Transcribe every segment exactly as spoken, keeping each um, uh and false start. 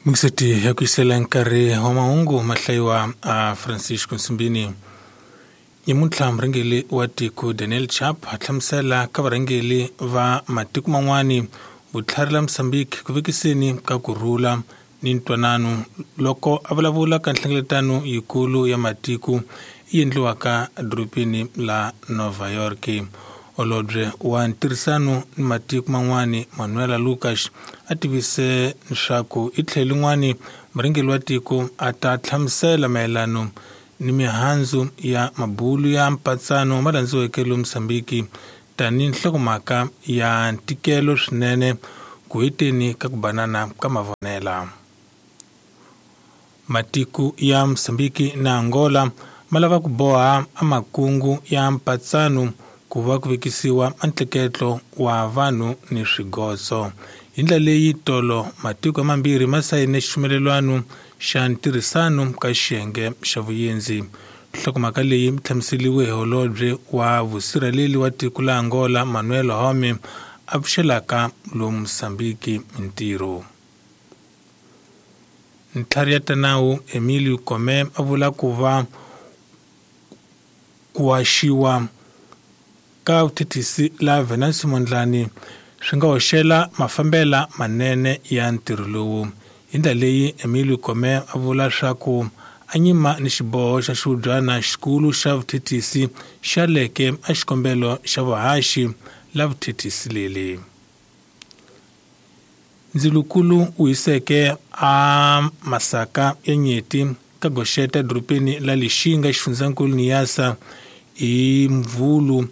Mingiseti ya ku yisela nkarhi wa mahungu mahlayiwa a Francisco Nsimbini. Nyamuntlha murhangeri wa tiko Daniel Chap a hlamusela ka varhangeri va matiko man'wani vutlhari la Mozambique ku vekiseni ka kurhula ni ntwanano loko a vulavula ka nhlengeletano yikulu ya matiko yi endliwaka edorobeni la Nova York. Holobye wa ntirhisano ni matiko man'wani Manuela Lucas a tivise leswaku i tlhelo lin'wani murhangeri wa tiko a ta hlamusela mayelano ni mihandzu ya mabulu ya mpatsano ma landziweke lomu Mozambique tanihi nhlokomhaka ya ntikelo swinene ku heteni ka ku banana ka mavonela. Matiko ya Mozambique na Angola ma lava ku boha amakungu ya mpatsano ku va ku vekisiwa ntleketlo wa vanhu ni swigotso. Hi ndlela leyi tolo matiko mambirhi ma sayine xipfumelelwano xa ntirhisano ka xiyenge xa vuyendzi. Nhlokomhaka leyi yi hlamuseriwe hi holobye wa vusirheleli wa tiko la Angola Manuel Home a pfuxelaka lomu Mozambique ntirho. Ntlhari ya tanawu Emilio Kome a vula ku va ku haxiwa ka vuthethisi la Venancio Mondlane swi nga hoxela mafambela manene ya ntirho lowu. Hi ndlela leyi Emilio Kome a vula swa ku a nyima ni xiboho xa xihubyana xikulu xa vuthethisi xa leke a xikombelo xa vuhaxi la vuthethisi leli. Ndzilukulu wu hiseke a masaka ya nyeti ka goxeta edorobeni la Lixinga xifundzankulu Niassa hi Mvhulu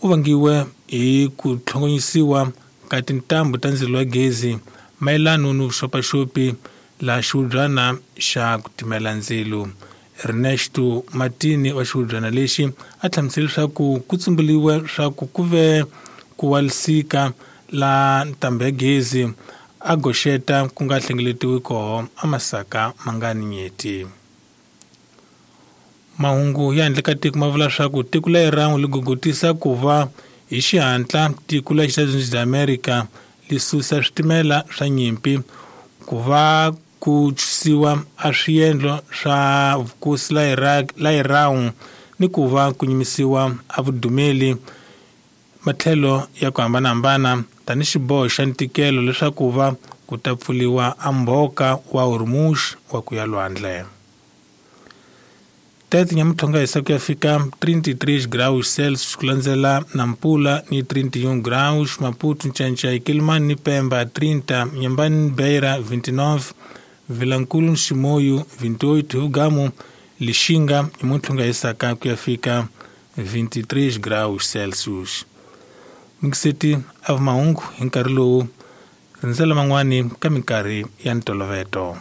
u vangiwe hi ku tlhongonyisiwa ka tintambu ta ndzilo wa gezi mayelano ni vuxopaxopi la xihubyana xa ku timela ndzilo. Ernesto Martini wa xihubyana lexi a hlamusele leswaku ku tsumbuliwe swa ku ku ve ku walisika la ntambu ya gezi a goxeta ku nga hlengeletiwi koho a masaka ma nga ni nyeti. Mahungu ya handle ka tiko ma vula swa ku tiko la Iran li gogotisa ku va hi xihatla tiko la Estados Unidos America li susa switimela swa nyimpi ku va ku chusiwa a swiendlo swa vukosi la Iraq la Iran ni ku va ku nyimisiwa a vudumeli matlhelo ya ku hambanahambana tanihi xiboho xa ntikelo leswaku va ku ta pfuliwa a mbhoka wa Hormuz wa ku ya lwandle. Tete nyamutlhonga hisa ku ya fika trinta e três graus Celsius ku landzela Nampula ni trinta e um graus, Maputo, Nchanchay, Quelimane ni Pemba trinta, Inhambane ni Beira vinte e nove, Vilankulu ni Chimoio vinte e oito, Hugamu, Lixinga nyamutlhonga hisaka ku ya fika vinte e três graus Celsius. Mingiseti a mahungu hi nkarhi lowu rindzela man'wani ka minkarhi ya ntoloveto.